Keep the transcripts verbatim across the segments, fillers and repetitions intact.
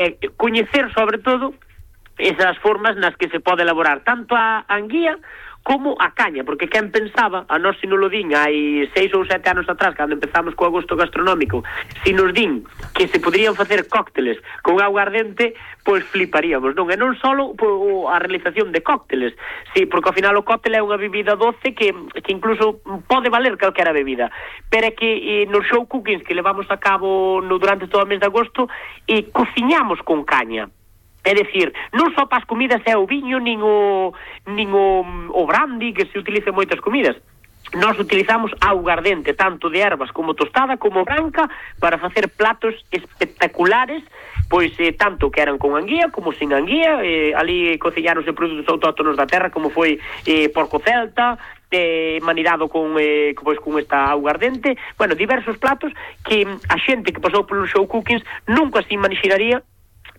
é coñecer sobre todo esas formas nas que se pode elaborar tanto a anguía como a caña, porque quen pensaba, a nós se nos lo din hai seis ou sete anos atrás, cando empezamos co agosto gastronómico, se nos din que se poderían facer cócteles con auga ardente, pois fliparíamos, non? E non só a realización de cócteles, sí, porque ao final o cóctel é unha bebida doce que, que incluso pode valer calquera bebida, pero é que eh, nos show cookings que levamos a cabo no, durante todo o mes de agosto, e eh, cociñamos con caña. É dicir, non só para as comidas é o viño, nin o, nin o, o brandy, que se utiliza en moitas comidas. Nós utilizamos auga ardente, tanto de ervas como tostada, como branca, para facer platos espectaculares, pois eh, tanto que eran con anguía como sin anguía, eh, ali cociñáronse produtos autóctonos da terra, como foi eh, porco celta, eh, manirado con, eh, pois, con esta auga ardente, bueno, diversos platos que a xente que pasou polo show cookings nunca se imaginaría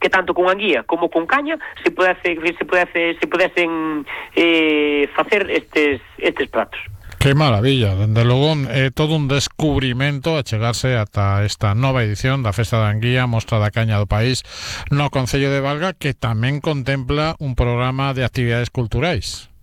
que tanto con anguía como con caña se pudese, se pudese, se pudesen eh, facer estes, estes pratos. Que maravilla, dende logo é todo un descubrimento a chegarse ata esta nova edición da Festa da Anguía, Mostra da Caña do País no Concello de Valga, que tamén contempla un programa de actividades culturais.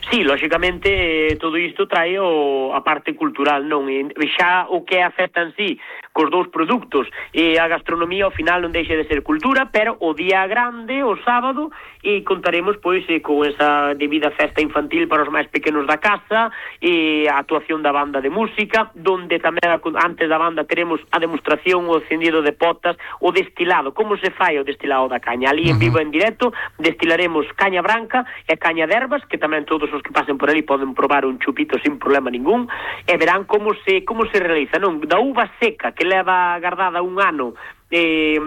Sí, lógicamente eh, todo isto trae o, a parte cultural, non? E xa o que é a festa en sí, cos dous produtos, e a gastronomía ao final non deixa de ser cultura, pero o día grande, o sábado, e contaremos pois eh, con esa debida festa infantil para os máis pequenos da casa, e a actuación da banda de música, donde tamén antes da banda teremos a demostración, o encendido de potas, o destilado, como se fai o destilado da caña. Ali en vivo en directo destilaremos caña branca e caña de ervas, que tamén todos os que pasen por ali poden probar un chupito sin problema ningún, e verán como se como se realiza, non? Da uva seca que leva guardada un ano eh,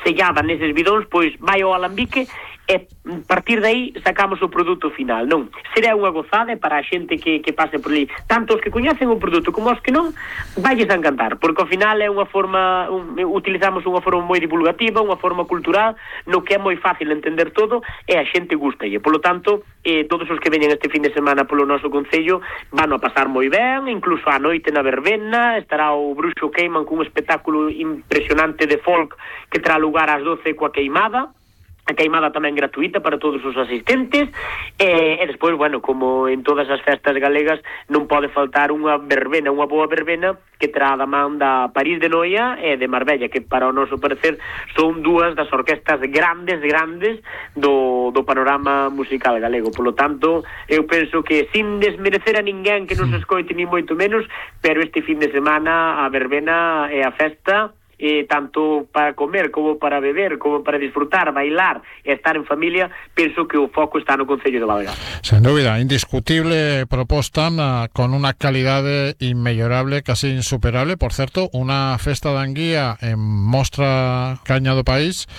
sellada neses bidóns, pois vai ao alambique e a partir de aí sacamos o produto final, non? Será unha gozada para a xente que, que pase por ali, tanto os que coñecen o produto como os que non, valles a encantar, porque ao final é unha forma, un, utilizamos unha forma moi divulgativa, unha forma cultural, no que é moi fácil entender todo, e a xente gusta, e polo tanto eh, todos os que veñen este fin de semana polo noso concello van a pasar moi ben, incluso a noite na verbena estará o Bruxo Queiman cun espectáculo impresionante de folk que terá lugar ás doce coa queimada. A queimada tamén gratuita para todos os asistentes, e, e despois, bueno, como en todas as festas galegas, non pode faltar unha verbena, unha boa verbena que terá da man da París de Noia e de Marbella, que para o noso parecer son dúas das orquestas grandes, grandes do, do panorama musical galego. Por lo tanto, eu penso que sin desmerecer a ninguén que nos escoite ni moito menos, pero este fin de semana a verbena e a festa, Eh, tanto para comer como para beber, como para disfrutar, bailar e estar en familia, penso que o foco está no Concello de Valga. Sen dúbida, indiscutible proposta uh, con unha calidade inmellorable, casi insuperable. Por certo, unha festa de anguía en Mostra Caña do País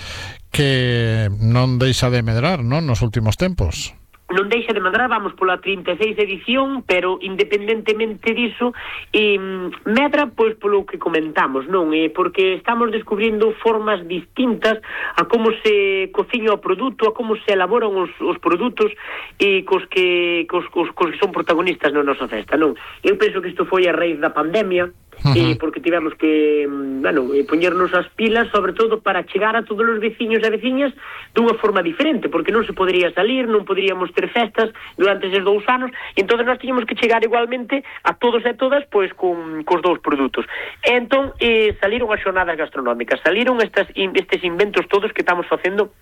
que non deixa de medrar, non, nos últimos tempos. Non deixa de medrar, vamos pola trinta e seis edición, pero independentemente diso, eh, medra pois polo que comentamos, non? Eh, porque estamos descubrindo formas distintas a como se cociña o produto, a como se elaboran os, os produtos e cos que, cos, cos, cos que son protagonistas na nosa festa, non? Eu penso que isto foi a raíz da pandemia, Uh-huh. Eh, porque tivemos que, bueno, eh, poñernos as pilas, sobre todo para chegar a todos os veciños e veciñas dunha forma diferente, porque non se podería salir, non poderíamos ter festas durante eses dous anos, e entón nós tiñamos que chegar igualmente a todos e todas, pois, con, cos dous produtos. E entón, eh, saliron as xornadas gastronómicas, saliron estas, estes inventos todos que estamos facendo,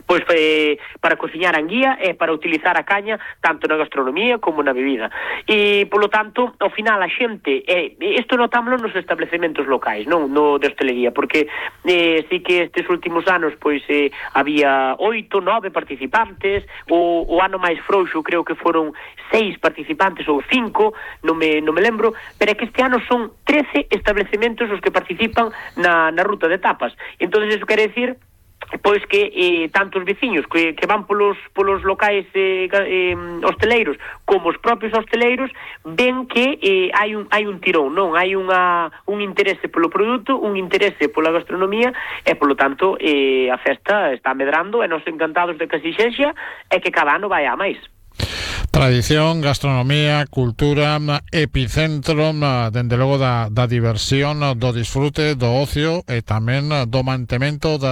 pois eh, para cociñar anguía e para utilizar a caña tanto na gastronomía como na bebida, e polo tanto ao final a xente, eh, isto notámoslo nos establecementos locais, non no de hostelería, porque eh, sí que estes últimos anos pois eh, había oito, nove participantes, o, o ano máis frouxo creo que foron seis participantes ou cinco, non me, non me lembro, pero é que este ano son trece establecementos os que participan na, na ruta de tapas. Entón iso quere decir pois que eh, tanto os veciños que, que van polos, polos locais eh, eh, hosteleiros como os propios hosteleiros ven que eh, hai, un, hai un tirón, non? Hai unha, un interese polo produto, un interese pola gastronomía, e polo tanto eh, a festa está medrando, e nos encantados de que así sexa, e que cada ano vai a máis. Tradición, gastronomía, cultura, epicentro, dende logo da, da diversión, do disfrute, do ocio e tamén do mantemento da